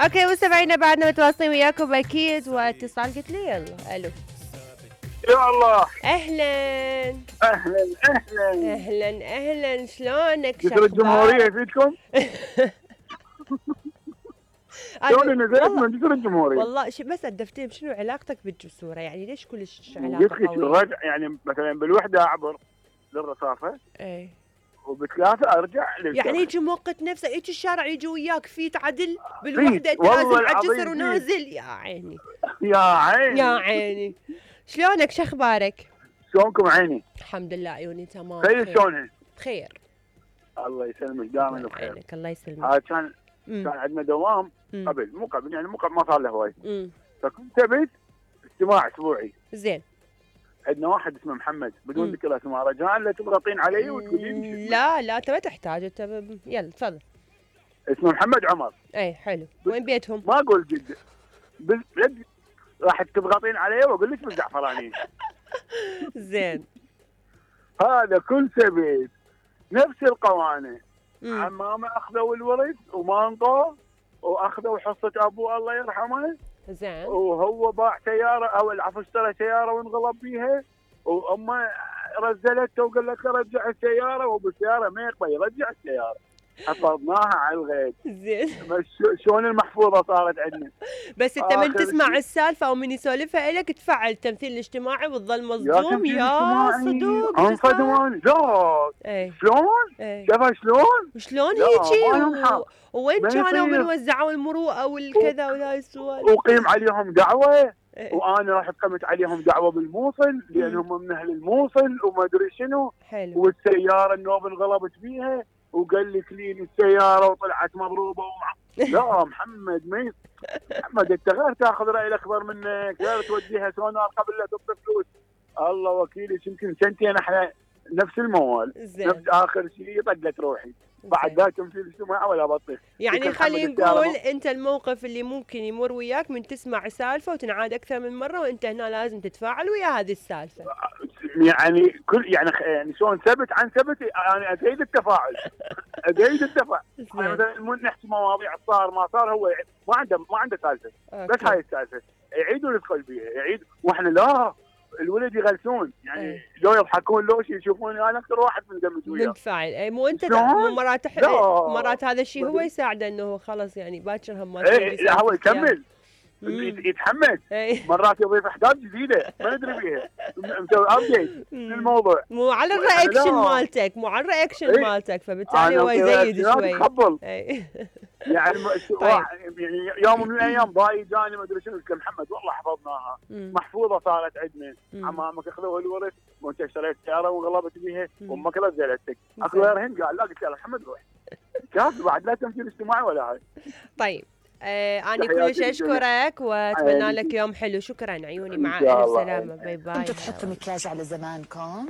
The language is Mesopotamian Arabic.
اوكي مستمعينا بعدنا متواصلين وياكم اكيد، واتصال قلت لي يلا الو. يا الله اهلا اهلا اهلا اهلا اهلا، شلونك؟ جسر الجمهورية فيكم؟ شلون نزلت من جسر الجمهورية؟ والله بس الدفتين، شنو علاقتك بالجسورة؟ يعني ليش كلش علاقة قلت لك قوية؟ يعني مثلا بالوحدة اعبر للرصافة اي وبثلاثة ارجع للشارع. يعني يجي موقت نفسه، يجي الشارع يجي وياك فيت عدل بالوحدة، انت نازل على الجسر ونازل. يا عيني يا عيني يا عيني. شلونك؟ شخبارك؟ شلونكم عيني؟ الحمد لله عيوني تمام. خير شلونها؟ بخير الله يسلمك دائما بخير. الله يسلمك. هذا كان عندنا دوام قبل، مو قبل يعني مو قبل، ما صار له هواي. فكنت ابيت اجتماع اسبوعي. زين. عندنا واحد اسمه محمد بدون ذكر اسمه، رجاء لا تضغطين علي وتقولين لا انت ما تحتاج، انت يلا تفضل. اسمه محمد عمر. اي حلو. وين بيتهم؟ ما اقول جد راح تضغطين علي واقول لك بالزعفراني. زين. هذا كل سبت نفس القوانين. عمامه اخذوا الورث ومانطوا واخذوا حصه ابوه الله يرحمه. زين. وهو باع سياره او العفو اشترى سياره وانغلب بيها، وامه رزلته وقال لك رجع السياره، وبالسياره ما يقبل يرجع السياره. حفظناها على الغيب. زين. شلون المحفوظه صارت عندنا. بس انت من تسمع السالفه او من يسولفها لك تفعل التمثيل الاجتماعي وتظل مصدوم. يا صدوق انصدمون. لا شلون؟ شافها شلون هيجي وين كانوا بنوزعوا المروءه والكذا وهاي السوالف. وقيم عليهم دعوه. وانا رحت قمت عليهم دعوه بالموصل لانهم من اهل الموصل وما ادري شنو. حلو. والسياره النوب انغلبت بيها وقال لي كلين السياره وطلعت مضروبه لا محمد محمد انت غير تاخذ راي الاكبر منك، غير توديها سونار قبل لا تعطي فلوس. الله وكيلي يمكن سنتين احنا نفس الموال. نفس اخر شيء طقت روحي. بعد ذاك تمثيل اجتماعي ولا بطيخ. يعني خلينا نقول انت الموقف اللي ممكن يمر وياك من تسمع سالفه وتنعاد اكثر من مره وانت هنا لازم تتفاعل ويا هذه السالفه. يعني يعني شلون ثبت عن ثبت، يعني ازيد التفاعل. يعني مثلا نحكي مواضيع صار ما صار، هو ما عنده سالفه. بس هاي السالفه يعيدوا يدخل بيها يعيد، واحنا لا الولد يغلسون يعني. لو يضحكون لو يشوفوني انا اكثر واحد مندمج وياه. منفعل. اي مو انت مرات هذا الشيء هو يساعده انه خلاص يعني باكر هم ما لا هو يكمل يتحمس. مرات يضيف احداث جديده ما ندري بيها، مسوي ابديت للموضوع. مو على الرياكشن مالتك فبالتالي هو يزيد شوي. يعني يعني يوم من الايام باي جاني ما ادري شنو، قلت محمد والله حفظناها محفوظه صارت عندنا. عمامك اخذوا الورث وانت اشتريت سياره وانغلبت بيها وامك رزلتك. اكو غيرهن قال لا، قلت له محمد روح شاف بعد لا تمثيل اجتماعي ولا هاي. طيب أنا كلش أشكرك وأتمنى لك يوم حلو. شكرا عيوني، مع ألف سلامة. باي باي. كنتوا تحطوا مكياج على زمانكم؟